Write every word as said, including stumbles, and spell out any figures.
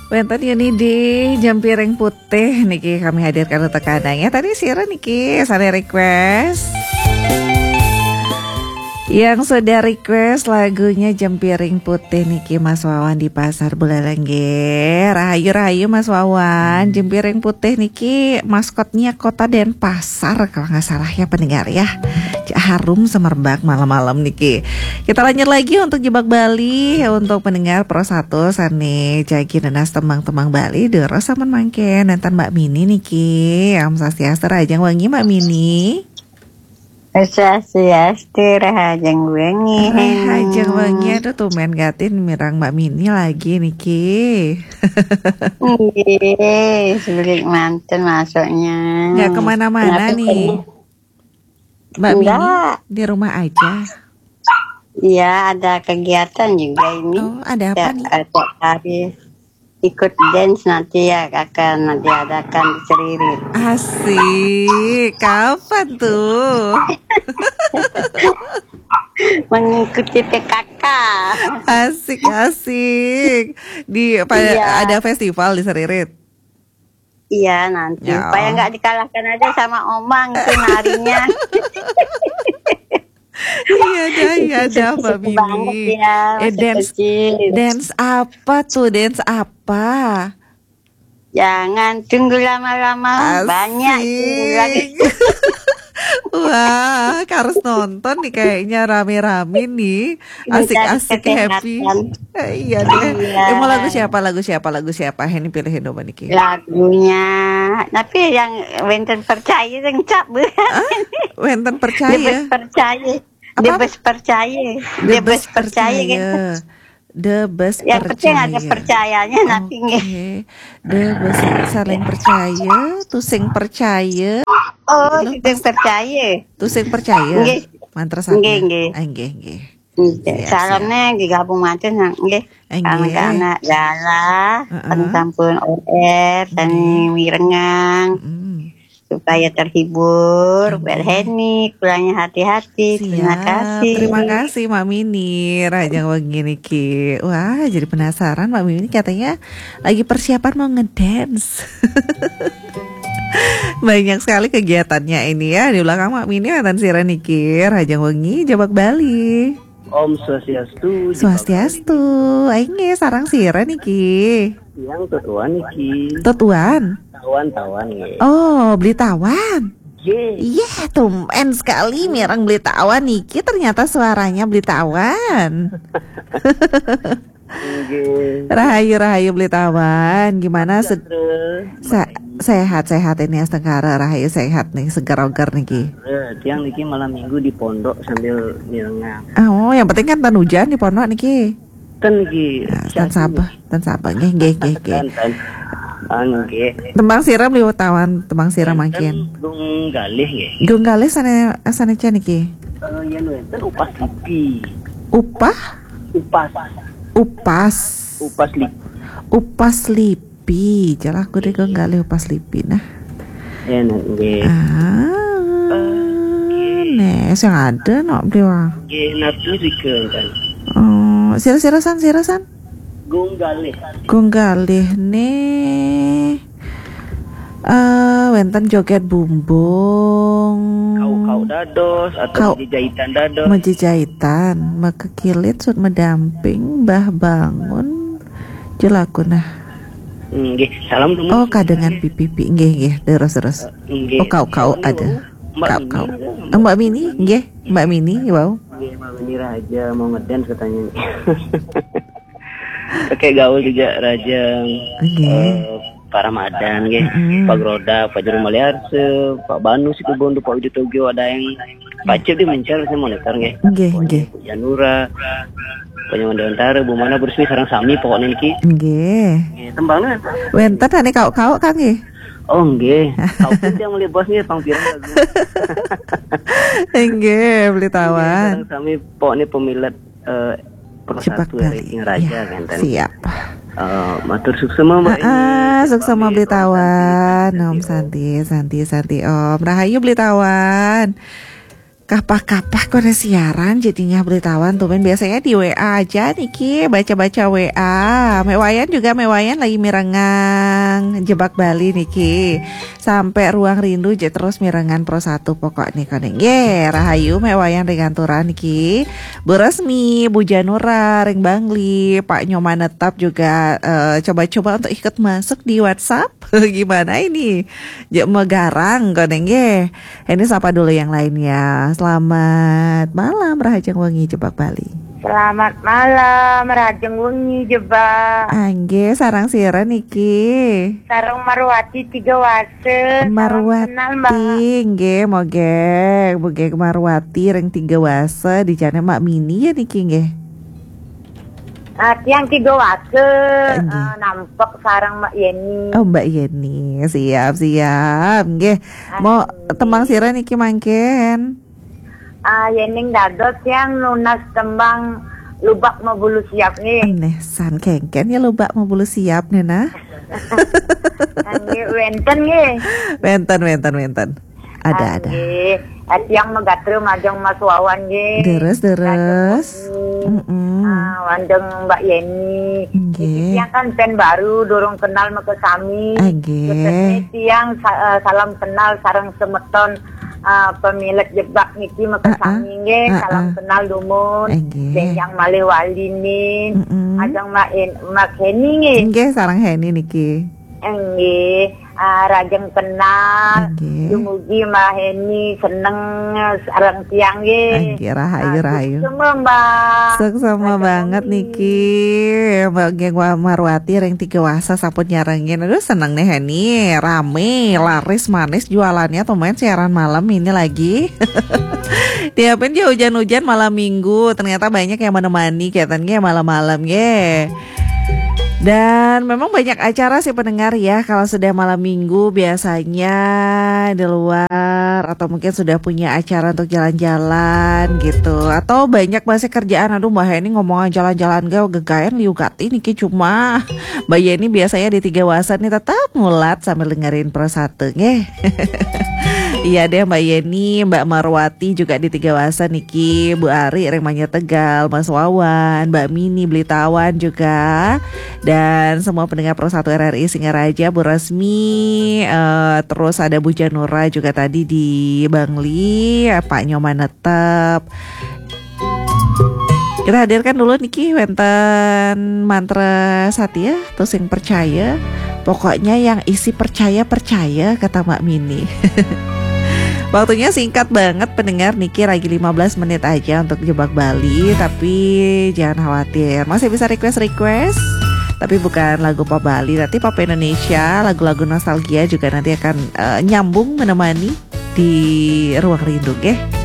Wénten Yuni di Jempiring Putih niki kami hadirkan untuk Anda ya. Tadi sira niki sané request. Yang sudah request lagunya Jempiring Putih niki Mas Wawan di Pasar Buleleng nggih. Rahayu, rahayu Mas Wawan. Jempiring Putih niki maskotnya Kota Denpasar kalau nggak salah ya pendengar ya. Cek harum semerbak malam-malam niki. Kita lanjut lagi untuk Jebak Bali untuk pendengar Pro satu sané jagi nenas tembang-tembang Bali, terus sampun mangkin nénten Mbak Mini niki. Om Swastiastu, rahajeng wengi Mbak Mini. Swastiastu, rahajeng wengi. Rahajeng wengi, aduh tumben gatin mireng Mbak Mini lagi niki. Nggih, sebelik manten masuknya. Nggak kemana-mana nih. Mbak Mini di rumah aja. Iya, ada kegiatan juga ini. Oh, ada apa nih? Ada hari ikut dance nanti ya, akan diadakan di Seririt. Asik, kapan tuh? Mengikuti P K K. Asik, asik. Di apa, iya, ada festival di Seririt? Iya, nanti. Ya. Supaya nggak dikalahkan aja sama Omang itu narinya. Iya dah, iya dah, Mbak Mini. Ya, eh, dance, dance apa tuh? Dance apa? Jangan tunggu lama-lama, banyak lagi. Wah, harus nonton nih kayaknya, rame-rame nih. Asik-asik, happy. Eh, iya deh. Iya. Eh, mau lagu siapa? Lagu siapa? Lagu siapa? Ini pilihin dong niki. Lagunya, tapi yang wénten percaya yang cap. Wénten percaya. Debes percaya. Apa? Debes percaya. Debes percaya. Debes percaya. Yang penting ada percayanya, nanti nggih. Oke. Debes saling percaya, tusing percaya. Oh, tusing percaya. Tusing percaya. Nggih. Mantra saja. Nggih, nggih. Ah, nggih, nggih. Nggih. Salamnya digabung manten nggih. Nggih. Anak-anak galah, heeh, sampun on air, sané mirengang. Mm-mm. Supaya terhibur, Bu Heni, pulangnya hati-hati. Terima kasih. Terima kasih, Mbak Mini. Rahajeng wengi niki. Wah, jadi penasaran, Mbak Mini katanya lagi persiapan mau ngedance. Banyak sekali kegiatannya ini ya. Di belakang Mbak Mini wénten sira niki. Rahajeng wengi, Jebak Bali. Om Swastiastu. Swastiastu. Aing nggih sareng sira niki. Yang tutuan niki. Tutuan. Tawan, tawan nggih. Oh, Beli Tawan. Nggih. Iya, tumben sekali mireng Beli Tawan niki, ternyata suaranya Beli Tawan. Nggih. Rahayu, rahayu Beli Tawan. Gimana se- sehat, sehat ini astengkara, rahayu sehat nih, seger oger niki. Eh, tiang niki malam minggu di pondok sambil mirengang. Oh, yang penting kan ten hujan di pondok niki. Ten niki. Nah, ten sabar, ten sabar. Nggih, nggih, nggih, nggih. Ten, ten. Ah, nggih. Tembang sira Beli Tawan, tembang sira mangkin. Gung Galih nggih. Gung Galih sané, sané ca niki. Eh, yen wénten Upas Lipi. Upah? Upas. Upas. Upas Lipi. Upas Lipi. Jalah aku deh Gung Galih Upas Lipi nah. Enak nggih. Ah, nggih. Nih, sing ada nok Beli Tawan. Nggih, napi rika kan. Oh, sira-sira san, sira san? Gung Galih. Gung Galih nih. Eh, wénten joget bumbung. Kau-kau dados atau kau- Mejejahitan dados. Mejejahitan, mekekilit sut medamping, Mbah Bangun. Jelaku nah. Nggih, salam dulu. Oh, kadengan pipipi. Nggih, nggih, terus, terus. Nggih. Oh, kau-kau ada. Kau-kau. Mbak Mini, nggih, Mbak Mini, wow. Nggih, Mbak Mini Raja mau ngedance katanya. Oke, gaul juga Raja. Nggih. Eh, Pak Ramadan, nggih. Mm-mm. Pak Groda, Pak Juru Maliarse, Pak Banu Situbondo, Pak Widodo Tugio, ada yang Pak Cip di Mencar, saya monitor, nggih. Nggih, nggih. Bu Janura, Pak Nyoman Dewantara, Bu Mana, Bu Rusmi, sareng sami pokoknya niki. Nggih. Nggih, tembangnya. Wénten ane kau-kau, Kang, nggih? Oh, nggih. Kau pun yang mulai bos nggih, pang pirang lagu. Nggih, Beli Tawan. Nggih, sareng sami pokoknya pemilet, eh, Pro satu Raja, ya. Siap. Eh, matur suksema, Mbak. Ah, suksema Beli Tawan. Om Santi, Santi, Santi, Om. Rahayu Beli Tawan. Kapah-kapah koné siaran jadinya belitawan tuh, men. Biasanya di W A aja niki, baca-baca W A. Mek Wayan juga, Mek Wayan lagi mirengang Jebak Bali niki. Sampai Ruang Rindu je terus mirengan Pro satu pokok nih koné. Nggih, rahayu Mek Wayan ring Anturan niki. Bu Resmi, Bu Janura, ring Bangli, Pak Nyoman Netap juga, eh, coba-coba untuk ikut masuk di WhatsApp. Gimana ini? Jek megarang koné nggih. Ini sapa dulu yang lainnya. Selamat malam, Rahajeng Wengi Jebak Bali. Selamat malam, Rahajeng Wengi Jebak. Anggih, sareng sira niki? Sareng Marwati Tiga Wase. Salam Marwati, kenal, Mbak. Nggih, mogek, mogek Marwati ring Tiga Wase, di jane Mak Mini ya niki nggih. Ah, tiang Tiga Wase, nggih. Eh, nampek sareng Mbak Yeni. Oh, Mbak Yeni, siap, siap. Nggih. Mau nggih. Tembang sira niki mangkin? Ah, yening dados tiang nunas tembang Lubak Mabulu Siap nggih. Neh, san kengken ya Lubak Mabulu Siap nih nah. Nggih, wenten nggih. Wenten, wenten, wenten. Ada, ada. Nggih. Eh, tiang megatre majeng Mas Wawan nggih. Deres, deres. Majeng Mas Wawan. Mm-mm. Ah, wandeng Mbak Yeni. Nggih. Niki tiang kan pen baru, durung kenal mekesami. Ah, nggih. Khususnya tiang sa-, eh, salam kenal sareng semeton, eh, pemilik Jebak niki mekesami nggih. Ah, ah. Salam kenal dumun. Ah, nggih. Benjang malih wali nih. Mm-mm. Ajeng Mbak En-, Mbak Heni nggih. Nggih, sareng Heni niki. Nggih, ah, rajeng kenal. Nggih. Dumugi Mbak Heni seneng sareng tiang nggih. Nggih, rahayu, ah, rahayu. Suksema, Mbak. Suksema banget niki. Mbak nggih, Wa-, Marwati ring Tiga Wasa sampun nyarengin. Aduh, seneng nih Heni, rame, laris manis jualannya tuh, men, siaran malam ini lagi. Tiapin dia hujan-hujan malam minggu, ternyata banyak yang menemani, kelihatannya malam-malam nggih. Dan memang banyak acara sih pendengar ya, kalau sudah malam minggu biasanya di luar atau mungkin sudah punya acara untuk jalan-jalan gitu. Atau banyak masih kerjaan, aduh Mbak Heni ngomong jalan-jalan gak gegaen liu gati niki, cuma Mbak Yeni biasanya di Tiga Wasa nih tetap ngulat sambil dengerin Pro satu nggih. Iya deh Mbak Yeni, Mbak Marwati juga di Tiga Wasa niki, Bu Ari ring Banjar Tegal, Mas Wawan, Mbak Mini Belitawan juga. Dan semua pendengar Pro satu R R I Singaraja, Bu Resmi, eh, terus ada Bu Janura juga tadi di Bangli, ya, Pak Nyoman Netep. Kita hadirkan dulu niki wenten mantra Satya, tusing percaya. Pokoknya yang isi percaya, percaya, kata Mbak Mini. Waktunya singkat banget pendengar, niki lagi lima belas menit aja untuk Jebak Bali, tapi jangan khawatir, masih bisa request-request. Tapi bukan lagu pop Bali, tapi pop Indonesia, lagu-lagu nostalgia juga nanti akan, eh, nyambung menemani di Ruang Rindu, nggih.